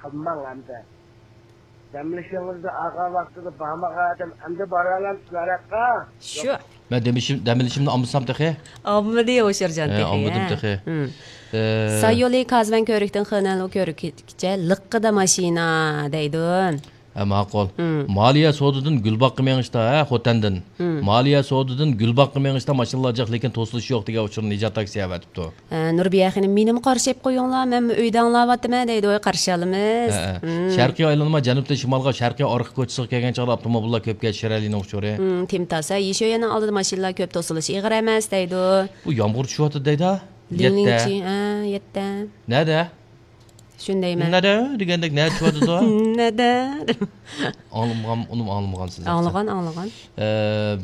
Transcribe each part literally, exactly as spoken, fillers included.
ئالماڭ ئەمدى. دەم ئېلىشىڭىزنى ئالغان ۋاقتىدا بارمىغان ئادەم ئەمدى بارالامسىز ھاراققا؟ شۇ. مەن دەم ئېلىشىم-، دەم ئېلىشىمنى ئالمىسام تېخى. ئالمىدى ھوشيارجان ھە، تېخى، ئالمىدىم ھە. تېخى. ھىم. ئە. ساي يولى كازۋەن كۆۋرۈكتىن خېنەنلۇ كۆۋرۈكىگىچە لىققىدا ماشىنا دەيدۇ. ھە، ماقۇل. ھىم. مالىيە سودىدىن گۈلباغقا مېڭىشتا، ھە، خوتەندىن. ھىم. مالىيە سودىدىن گۈلباغقا مېڭىشتا ماشىنىلار جىق، لېكىن توسۇلۇش يوق دېگەن ئۇچۇرنى نىجات تاكسى ئەۋەتىپتۇ. ئە، نۇربىيە خېنىم، مېنىمۇ قارشى ئېلىپ قويۇڭلار، مەنمۇ ئۆيدە ئاڭلاۋاتىمەن دەيدۇ، قارشى ئالىمىز. ھە، ھە. مم. شەرقىي ئايلانما جەنۇبتىن شىمالغا شەرقىي ئارقا كوچىسىغا كەلگەن چاغدا ئاپتوموبىللار كۆپ كەچ شىرەلىنىڭ ئۇچۇرى. مم، تىم تاسا، يېشۆيەننىڭ ئالدىدا ماشىنىلار كۆپ، توسۇلۇش ئېغىر ئەمەس دەيدۇ. بۇ يامغۇر چۈشۈۋاتىدۇ دەيدۇ. لىڭلىڭچى، ھە، يەتتە. نەدە؟ شۇندايمەن. نەدە دېگەندەك نەدە چۈشۈۋاتىدۇ؟ نەدە؟ ئاڭلىمىغان، ئۇنىمۇ ئاڭلىمىغانسىز. ئاڭلىغان، ئاڭلىغان. ئە،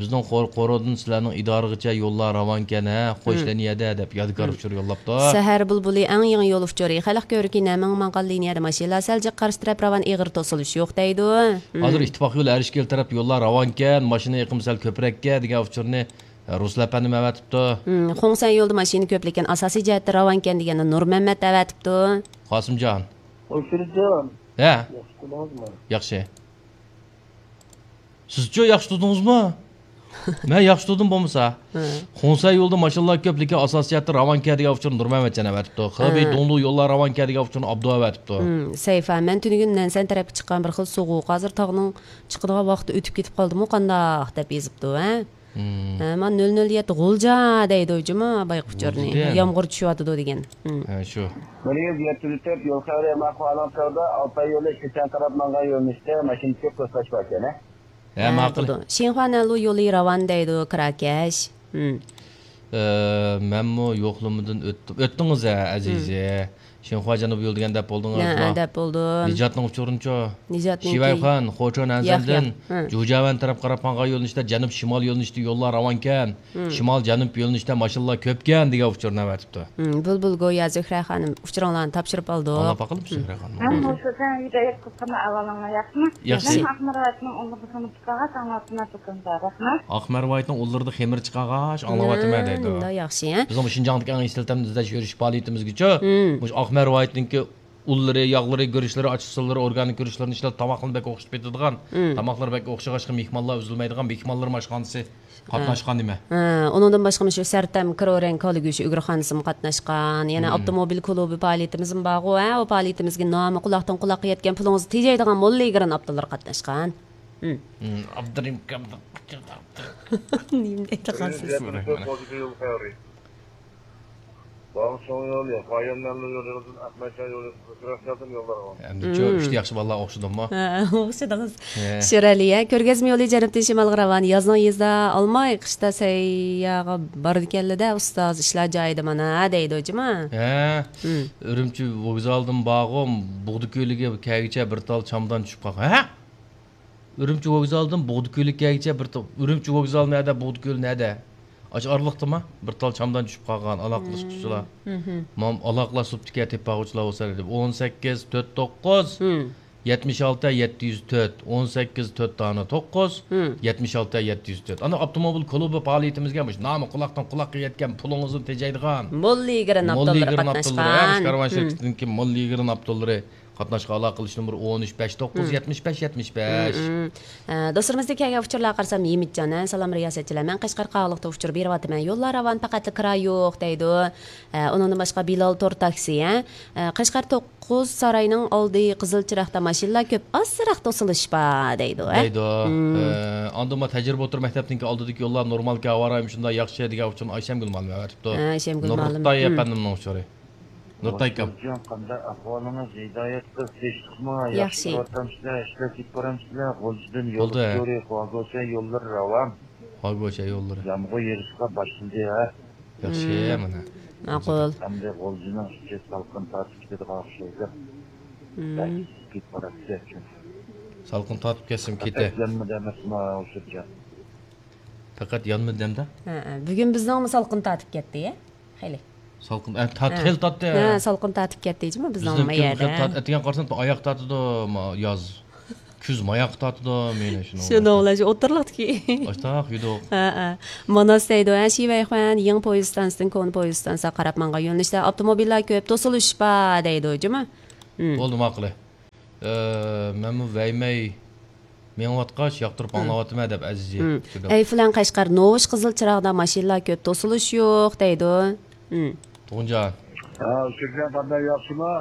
بىزنىڭ قور-، قورۇدىن سىلەرنىڭ ئىدارىغىچە يوللار راۋانكەن، ھە؟ خوش لىنىيەدە دەپ يادىكار ئۇچۇر يوللاپتۇ. سەھەر بۇلبۇلى ئەڭ يېڭى يول ئۇچۇرى. خەلق كۆۋرۈكى نەمىڭ ماڭغان لىنىيەدە ماشىنىلار سەل جىق، قارشى تەرەپ راۋان، ئېغىر توسۇلۇش يوق دەيدۇ. ھازىر ئىتتىپاق يولى ئەرشكېلى تەرەپ يوللار راۋانكەن، ماشىنا ئېقىمى سەل كۆپرەككەن دېگەن ئۇچۇرنى رۇسۇل ئەپەندىم ئەۋەتىپتۇ. ھىم، خۇڭسەن يولىدا ماشىنا كۆپ، لېكىن ئاساسىي جەھەتتە راۋانكەن دېگەننى نۇرمەممەت ئەۋەتىپتۇ. قاسىمجان. ئويسىرجان. ھە. ياخشى تۇردىڭىزمۇ؟ ياخشى. سىزچۇ ياخشى تۇردىڭىزمۇ؟ مەن ياخشى تۇردۇم بولمىسا. ھە. خۇڭسەن يولىدا ماشىنىلار كۆپ، لېكىن ئاساسىي جەھەتتە راۋانكەن دېگەن ئۇچۇرنى نۇرمەممەتجان ئەۋەتىپتۇ. خېبېي ھە. دۇڭلۇ يوللار راۋانكەن دېگەن ئۇچۇرنى ئابدۇ ئەۋەتىپتۇ. ھىم، سەيفا، مەن تۈنۈگۈن نەنسەن تەرەپكە چىققان بىر خىل سوغۇق. ھازىر تاغنىڭ چىقىدىغان ۋاقتى ئۆتۈپ كېتىپ قالدىمۇ قانداق دەپ يېزىپتۇ، ھە؟ ھىم. ھە، مانا نۆل نۆل يەتتە غۇلجا دەيدۇ جۇمۇ، بايقا ئۇچۇرنى. غۇلجىدە. يامغۇر چۈشۈۋاتىدۇ دېگەن. ھىم. ھە، شۇ. بىر يۈز يەتتە يۈز تۆت يول خەۋىرى ئەمما ئەھۋالىنىڭ چاغدا ئالتاي يولى شىچەن تەرەپ ماڭغان يۆنىلىشتە ماشىنا كۆپ توسۇلۇش باركەن، ھە؟ ھە، ھە، ماقۇل. بولىدۇ. شىنخۇا نەنلۇ يولى راۋان دەيدۇ، كىراكەش. ھىم. ئە، مەنمۇ يوقلىمىدىن ئۆتتۈم. ئۆتتىڭىز ھە، ئەزىزى. ھىم. شىنخۇا جەنۇبىي يول دېگەن دەپ بولدىڭىزمۇ؟ ھە، دەپ بولدۇم. نىجاتنىڭ ئۇچۇرىنىچۇ؟ نىجاتنىڭكى. شىۋەيخۇان، خوچۇن ياق، ئەنزەندىن ياق. ھە. جۇجياۋەن تەرەپ قاراپ ماڭغان يۆنىلىشتە جەنۇب شىمال يۆنىلىشىدە يوللار راۋانكەن. ھىم. شىمال جەنۇب يۆنىلىشتە ماشىنىلار كۆپكەن دېگەن ئۇچۇرنى ئەۋەتىپتۇ. ھىم، بۇلبۇل گويا زۆھرە خانىم ئۇچۇرۇڭلارنى تاپشۇرۇپ ئالدۇق. ئاڭلاپ باقايلى، ھىم. زۆھرە خانىم. مەن مۇشۇ سەن ھىدايەت قىلسام ئەھۋالىڭلار ياخشىمۇ؟ ياخشى. مەن ئاقمار ۋايىتنىڭ ئۇللىرىدا خىزمەت قىلغاچ ئاڭلاۋاتىمەن، دۇكىنىدا. رەھمەت. ئاقمار ۋايىتنىڭ ئۇللىرىدا خېمىر چىقارغاچ ئاڭلاۋاتىمەن دەيدۇ. مۇنداق ياخشى، ھە؟ بىزنىڭ شىنجاڭدىكى ئەڭ ئىشلىتىلمە ئىزدەش يۈرۈش پائالىيىتىمىزگىچۇ، ھىم. مۇشۇ ئاقمار ۋايىتنىڭكى ئۇللىرى، ياغلىرى، گۈرۈچلىرى، ئاچچىقسۇللىرى، ئورگانىك گۈرۈچلىرىنى ئىشلەپ، تاماقنى بەك ئوخشىتىپ ئېتىدىغان، ھىم. تاماقلىرى بەك ئوخشىغاچقا، مېھمانلار ئۈزۈلمەيدىغان مېھمانلار ئاشخانىسى قاتناشقان نېمە؟ ھە، ئۇنىڭدىن باشقا مۇشۇ سەرتەم كرورەڭ كالا گۆشى ئۈگرىخانىسىمۇ قاتناشقان، يەنە ھىم. ئاپتوموبىل كۇلۇبى پائالىيىتىمىزمۇ بارغۇ، ھە، ئۇ پائالىيىتىمىزگە نامى قۇلاقتىن قۇلاققا يەتكەن، پۇلىڭىزنى تېجەيدىغان موللا ئىگرىن ئابدۇللىرى قاتناشقان. ھىم. ھىم، ئابدۇرېھىم كامدىن. نېمە دەيدىغانسىز؟ باغ چوڭ يولى، بايان مەمنۇ يولى، ئەخمەتجان يولى، ئۆتۈرەك يوللار بار. ئەمدىچۇ، ھىم. ئۈچتە ياخشى بالىلار ئوخشىدىممۇ؟ ھە، ئوخشىدىڭىز. ھە. شىرئەلى، ھە، كۆرگەزمە يولى جەنۇبتىن شىمالغا راۋان. يازنىڭ يېزىدا ئالماي، قىشتا سەيياغا بارىدىكەنلىدە، ئۇستاز، ئىشلار جايىدا مانا، دەيدۇ جۇما. ھە. ھىم. ئۈرۈمچى ۋوگزالدىن بارغۇ، بۇغدا كۆلىگە كەلگۈچە بىر تال چامدان چۈشۈپ قالغان. ھە؟ ئۈرۈمچى ۋوگزالدىن بۇغدا كۆلىگە كەلگۈچە بىر تا-، ئۈرۈمچى ۋوگزالى نەدە، بۇغدا كۆلى نەدە؟ ئاشۇ ئارىلىقتىما؟ بىر تال چامدان چۈشۈپ قالغان، ئالاقىلەشكۈچىلەر. مم. مم. مام-، ئالاقىلار سۇپتىكى تېپىپ باققۇچىلار بولسا دەپ. ئون سەككىز تۆت توققۇز، مم. يەتمىش ئالتە يەتتە يۈز تۆت، ئون سەككىز تۆت دانە توققۇز، مم. يەتمىش ئالتە يەتتە يۈز تۆت. ئانا ئاپتوموبىل كۇلۇبى پائالىيىتىمىزگە مۇشۇ نامى قۇلاقتىن قۇلاققا يەتكەن، پۇلىڭىزنى تېجەيدىغان موللا يىگىرىن موللا ئاپتوللىرى يىگىرىن ئاپتوللىرى، قاتناشقان. ھە، مۇشۇ كارۋان مم. شىركىتىنىڭكى موللا يىگىرىن ئاپتوللىرى قاتناشقا ئالاقىلىشىش نومۇرى ئون ئۈچ بەش توققۇز يەتمىش بەش يەتمىش بەش. مم. ئە، دوستلىرىمىزدىن كەلگەن ئۇچۇرلارغا قارىسام، ھىمىتجان، ھە، سالام رىياسەتچىلەر، مەن قەشقەر قاغىلىقتا ئۇچۇر بېرىۋاتىمەن، يوللار راۋان، پەقەتلا كىرا يوق دەيدۇ. ئە، ئۇنىڭدىن باشقا بىلال تور تاكسى، ھە، ئە، قەشقەر توققۇز ساراينىڭ ئالدى قىزىل چىراغدا ماشىنىلار كۆپ، ئازراق توسۇلۇش بار دەيدۇ، ھە؟ دەيدۇ. مم. ئە، ئاندىن ما تەجرىبە ئوتتۇرا مەكتەپنىڭكى ئالدىدىكى يوللار نورمالكەن، ھاۋا رايىمۇ شۇنداق ياخشى دېگەن ئۇچۇرنى ئايشەمگۈل مۇئەللىم ئەۋەتىپتۇ. ھە، ئايشەمگۈل مۇئەللىم. نۇرتاي مم. ئەپەندىمنىڭ ئۇچۇرى. نۇرتاي ئاكام. ھوسۇلجان، قانداق ئەھۋالىڭىز؟ ھىدايەت قىز، تىنچلىقمۇ؟ ياخشى. ياخشى باراتامسىلەر؟ ئىشلەپ كېتىپ بارامسىلەر؟ غۇلجىدىن يول بولدى. ئۇچۇرى، خۇاگوچە يوللىرى راۋان. خۇاگوچە يوللىرى. يامغۇر يېغىشقا باشلىدى، ھە؟ ياخشى، مم. مانا. ماقۇل. ئەمدى غۇلجىنىڭ ئىچى سالقىن تارتىپ كېتىدىغان ئوخشايدۇ. مم. بەك ئىسسىپ كېتىپ باراتتى. سالقىن تارتىپ كەتسىمۇ كېتە. پەقەت يانمىدى ئەمەسمۇ، ھوسۇلجان؟ پەقەت يانمىدى ئەمدى؟ ھە، ھە. بۈگۈن بىزنىڭمۇ سالقىن تارتىپ كەتتى، يە؟ خېلى. سالقىن، ئە، تارت-، ھە. خېلى تارتتى. ھە، سالقىن تارتىپ كەتتى جۇمۇ بىزنىڭ بىزنىڭ ما يەردە. خېلى تارت-، ئەتىگەن قارىسام، ئاياق تارتىدۇ، ما-، ياز. كۈز ماياققا تارتىدۇ، مېنى شۇنىڭ شۇنىڭ بىلەن. بىلەن شۇ ئوتتۇرىلىقتىكى. ئاشتاق يۈدۈق. ھە، ھە. ماناس دەيدۇ، ھە، شىۋەيخۇەن، يېڭى پويىز ئىستانسىسىدىن كونا پويىز ئىستانسىغا قاراپ ماڭغان يۆنىلىشتە ئاپتوموبىللار كۆپ، توسۇلۇش بار دەيدۇ جۇمۇ. ھىم. بولدى، ماقۇلى. ئە، مەنمۇ ۋەيمەي مېڭىۋاتقاچ ياقتۇرۇپ ئاڭلاۋاتىمەن دەپ ئەزىزى. ئەيفلەن قەشقەر نوۋۇش قىزىل چىراغدا ماشىنىلار كۆپ، توسۇلۇش يوق دەيدۇ. تۇغۇنجان. ھە، شۆكجان قانداق، ياخشىما؟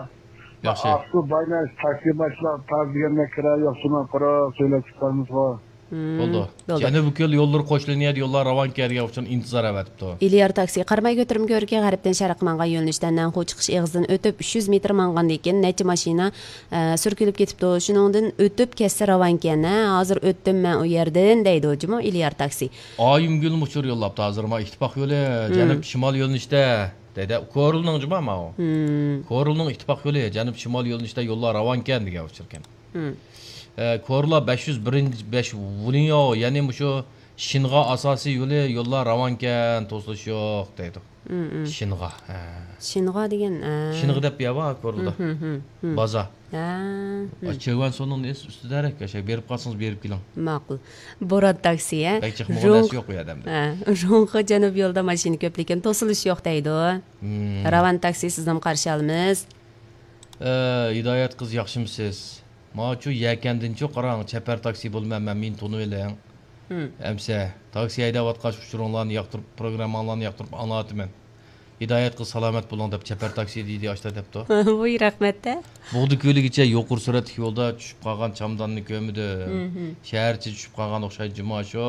ياخشى. ئاقسۇ بايناش تاكسى باشلاپ تاز دېگەندە كىرا يوق، شۇنىڭ قۇرۇق سۆيلەپ چىقارمىزغۇ. بولدى. جەنۇبىي كۆل يوللىرى قوش لىنىيەدە يوللار راۋانكەن دېگەن ئۇچۇرنى ئىنتىزار ئەۋەتىپتۇ. ئېلىيار تاكسى قاراماي كۆتۈرمە كۆۋرۈكى غەربتىن شەرققە ماڭغان يۆنىلىشتە نەنخۇ چىقىش ئېغىزىدىن ئۆتۈپ، ئۈچ يۈز مېتىر ماڭغاندىن كېيىن، نەچچە ماشىنا، ئە، سۈركىلىپ كېتىپتۇ. شۇنىڭدىن ئۆتۈپ كەتسە راۋانكەن. ھە، ھازىر ئۆتتۈم مەن ئۇ يەردىن دەيدۇ جۇمۇ ئېلىيار تاكسى. ئايىمگۈلمۇ ئۇچۇر يوللاپتۇ ھازىر، ما ئىتتىپاق يولى، جەنۇب شىمال يۆنىلىشتە دەيدۇ. كورلىنىڭ جۇما ماۋۇ. كورلىنىڭ ئىتتىپاق يولى، جەنۇب شىمال يۆنىلىشتە يوللار راۋانكەن دېگەن ئۇچۇركەن. ئە، كورلا بەش يۈز بىرىنچى، بەش ۋۇلىنيو، يەنى مۇشۇ شىنغا ئاساسىي يولى، يوللار راۋانكەن، توسۇلۇش يوق دەيدۇ. شىنغا، ھە. شىنغا دېگەن، ئە. شىنغا دەپ يا بار كورلىدا. بازا. ھە. ئا، چېۋەن سونىڭ ئۈستىدە ھەرەك، ئاشۇ بېرىپ قالسىڭىز بېرىپ كېلىڭ. ماقۇل. بوران تاكسى، ھە. بەك چىقمىغان نەرسە يوق ئۇ يەردە ئەمدى. ھە. روڭخې جەنۇب يولىدا ماشىنا كۆپلۈكىن، توسۇلۇش يوق دەيدۇ. راۋان تاكسى سىزنىمۇ قارشى ئالىمىز. ئە، ھىدايەت قىز ياخشىمۇسىز؟ ماچۇ يەكەندىنچۇ قاراڭ، چەپەر تاكسى بولىمەن مەن، مېنى تونۇۋېلىڭ. ئەمسە، تاكسى ھەيدەۋاتقاچ ئۇچۇرۇڭلارنى ياقتۇرۇپ، پروگرامماڭلارنى ياقتۇرۇپ ئاڭلاۋاتىمەن. ھىدايەت قىز سالامەت بولۇڭ دەپ چەپەر تاكسى دېدى ئاشتا دەپتۇ. ۋۇي، رەھمەت-دە. بوغدا كۆلىگىچە يۇقىرى سۈرئەتلىك يولدا چۈشۈپ قالغان چامداننى كۆرمىدىم. شەھەرچە چۈشۈپ قالغان ئوخشايدۇ جۇما شۇ.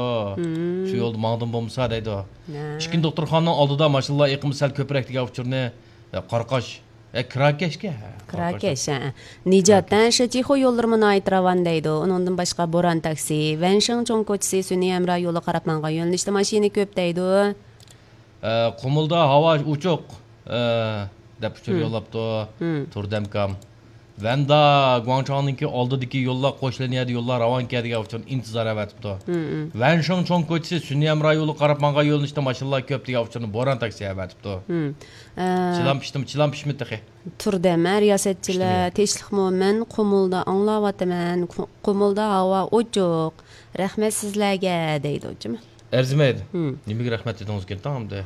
شۇ يولدا ماڭدىم بولمىسا دەيدۇ. ئىككىنچى دوختۇرخانىنىڭ ئالدىدا ماشىنىلار ئېقىمى سەل كۆپرەك دېگەن ئۇچۇرنى، ئە، قاراقاش. ئە، كىراكەشكە، ھە، كىراكەش، ھە. نىجات، ھە، شىچىخۇ يوللىرىمۇ ناھايىتى راۋان دەيدۇ. ئۇنىڭدىن باشقا بوران تاكسى، ۋەنشىڭ چوڭ كوچىسى، سۈنئىي ھەمراھ يولىغا قاراپ ماڭغان يۆنىلىشتە ماشىنا كۆپ دەيدۇ. ئە، قۇمۇلدا ھاۋا ئوچۇق، ئە، دەپ ئۇچۇر يوللاپتۇ تۇردەمكام. ۋەندا گۇاڭچاڭنىڭكى ئالدىدىكى يوللار قوش لىنىيەدە يوللار راۋانكەن دېگەن ئۇچۇرنى ئىنتىزار ئەۋەتىپتۇ. ۋەنشىڭ چوڭ كوچىسى، سۈنئىي ھەمراھ يولىغا قاراپ ماڭغان يۆنىلىشتە ماشىنىلار كۆپ دېگەن ئۇچۇرنى بوران تاكسى ئەۋەتىپتۇ. ئە، چىلان پىشتىمۇ، چىلان پىشمىدى تېخى. تۇردەم، ھە، رىياسەتچىلەر، تىنچلىقمۇ؟ مەن قۇمۇلدا ئاڭلاۋاتىمەن. قۇ-، قۇمۇلدا ھاۋا ئوچۇق. رەھمەت سىزلەرگە، دەيدۇ جۇمۇ. ئەرزىمەيدۇ. نېمىگە رەھمەت دېدىڭىزكىن تاڭ ئەمدى؟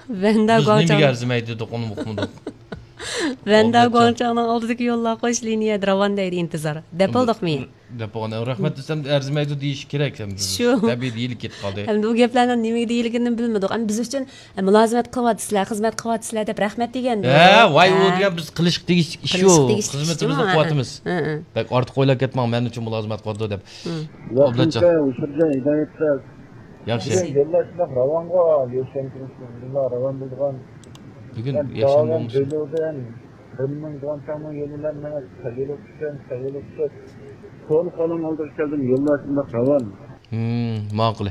ۋەندا بىز نېمىگە ئەرزىمەيدۇ دېدۇق، ئۇنى ئۇقمىدۇق. ۋەندا گۇاڭچاڭنىڭ ئالدىدىكى يوللار قوش لىنىيەدە راۋان دەيدۇ ئىنتىزار. دەپ بولدۇقمۇ؟ دەپ بولغان، رەھمەت دېسەم، ئەرزىمەيدۇ دېيىش كېرەك. شۇ. تەبىئىي دېيىلىپ كېتىپ قالدى. ئەمدى بۇ گەپلەرنىڭ نېمىگە دېيىلگىنىنى بىلمىدۇق. ئەمدى بىز ئۈچۈن، ئە، مۇلازىمەت قىلىۋاتىسىلەر، خىزمەت قىلىۋاتىسىلەر دەپ رەھمەت دېگەن. ھە، ۋاي، ئۇ دېگەن بىز قىلىشقا تېگىش ئىش يوق. خىزمىتىمىزنى قىلىۋاتىمىز. بەك ئارتۇق ئويلاپ كەتمەڭ، مەن ئۈچۈن مۇلازىمەت قىلىدۇ دەپ. ئابلەتجان. ياخشى. بۈگۈن يوللار شۇنداق راۋانغۇ، يوشۇرۇن تۇرۇشلار راۋان بولىدىغان. بۈگۈن يەكشەنبە بولمىسۇن. بىلدىن بىر مىڭ دۇغانچاڭنىڭ يولى بىلەن مېڭىپ، سەگىلىك چۈشكەن، سەگىلىك چۈشۈپ، كول قولۇڭ ئالدىغا كەلدىم، يوللار شۇنداق راۋان. ماقۇل.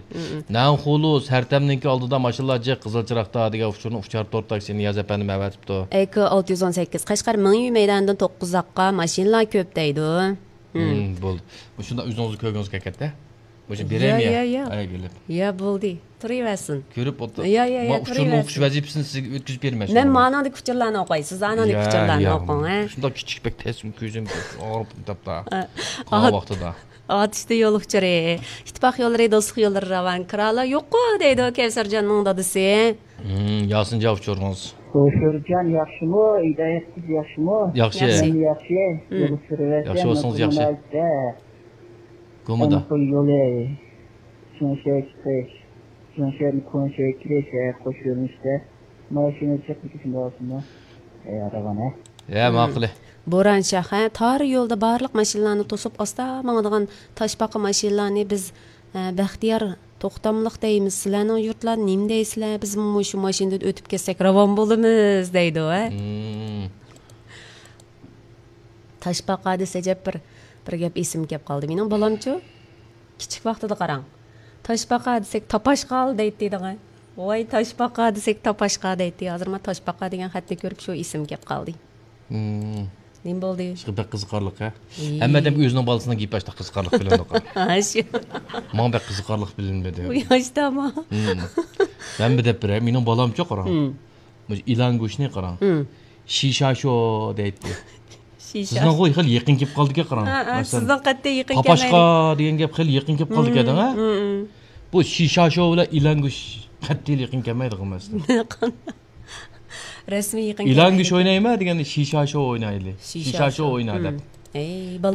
نەنخۇلۇ سەرتەمنىڭكى ئالدىدا ماشىنىلار جىق، قىزىل چىراغدا دېگەن ئۇچۇرنى ئۇچار تور تاكسى نىياز ئەپەندىم ئەۋەتىپتۇ. ئەيكى ئالتە يۈز ئون سەككىز، قەشقەر مىڭيۈ مەيدانىدىن توققۇز ئۇزاققا ماشىنىلار كۆپ دەيدۇ. بولدى. مۇشۇنداق ئۆزىڭىزنى كۆرگۈڭىز كەلگەندە. مۇشۇ بېرەيمۇ يا؟ يا، يا، يا. ئاي، بىلىپ. يا، بولدى. تۇرۇۋەرسۇن. كۆرۈپ ئولتۇر. يا، يا، يا، ما ئۇچۇرنى تۇرۇۋەرسۇن. ئوقۇش ۋەزىپىسىنى سىزگە ئۆتكۈزۈپ بېرىمەن مەن شۇنىڭغا. مانىڭدىكى ئۇچۇرلارنى ئوقۇي. سىز ئانىڭدىكى يا، ئۇچۇرلارنى يا. ئوقۇڭ، ھە؟ شۇنداق كىچىك بەك تەس كۆزۈم ئاغرىپ كېتىپتۇ. ھە. قاغا ۋاقتىدا. ئاتۇشتا يول ئۇچۇرى. ئىتتىپاق يوللىرى، دوستلۇق يوللىرى راۋان. كىرالار يوققۇ دەيدۇ كەۋسەرجاننىڭ دادىسى. ھىم، ياسىنجان ئۇچۇرىڭىز. كەۋسەرجان ياخشىمۇ؟ ھىدايەت قىز ياخشىمۇ؟ ياخشى. ياخشى. ياخشى. ھىم. يول سۈرۈۋەتسە ياخشى بولسىڭىز ياخشى. گۇمىدا. ئەمقۇي يولى، شۇڭشەي چىقىش، شۇڭشەيدىن كۇنشەي كىرىش، ھە، قوش يۆنىلىشتە ماشىنا چىقىپ كېتىشىم بولسىمۇ؟ ھە، راۋان، ھە؟ ھە، ماقۇل. بوران شاخ، ھە، تار يولدا بارلىق ماشىنىلارنى توسۇپ ئاستا ماڭىدىغان تاشپاقا ماشىنىلارنى بىز، ھە، بەختىيار توختاملىق دەيمىز. سىلەرنىڭ يۇرتلار نېمە دەيسىلەر؟ بىزمۇ مۇشۇ ماشىنىدىن ئۆتۈپ كەتسەك راۋان بولىمىز دەيدۇ، ھە؟ تاشپاقا دېسە، ئەجەب بىر، بىر گەپ ئېسىمگە كەپ قالدى. مېنىڭ بالامچۇ؟ كىچىك ۋاقتىدا قاراڭ. تاشپاقا دېسەك، تاپاشقال دەيتتى دەڭە. ۋاي، تاشپاقا دېسەك، تاپاشقا دەيتتى. ھازىر مانا تاشپاقا دېگەن خەتنى كۆرۈپ شۇ ئېسىمگە كەپ قالدى. نېمە بولدى؟ بەك قىزىقارلىق، ھە؟ ھەممە ئادەم ئۆزىنىڭ بالىسىنىڭ گېپى ئاشتا قىزىقارلىق بىلىنىدۇ. ھە، شۇ. ماڭا بەك قىزىقارلىق بىلىنمىدى. ئۇ ياشتامۇ؟ مەن بىر دەپ بېرەي، مېنىڭ بالامچۇ قاراڭ. مۇشۇ ئىلان گۆشىنى قاراڭ. شىشاشو دەيتتى. شىشا. سىزنىڭغۇ خېلى يېقىن كېلىپ قالدىكەن، قاراڭ. ھە، ھە، مەسىلەن، سىزنىڭ قەتئىي يېقىن پاپاشقا كەلمەيدۇ. دېگەن گەپ خېلى يېقىن كېلىپ قالدىكەن، ھە؟ بۇ شىشاشو بىلەن ئىلان گۆش قەتئىي يېقىن كەلمەيدىغان مەسىلە. رەسمىي يېقىن ئىلان گۆش كەلمەيدىكەن. ئوينايمەن دېگەندە شىشاشو ئوينايلى. شىشاشو. شىشاشو ئوينا دەپ. ئەي، بالىلار.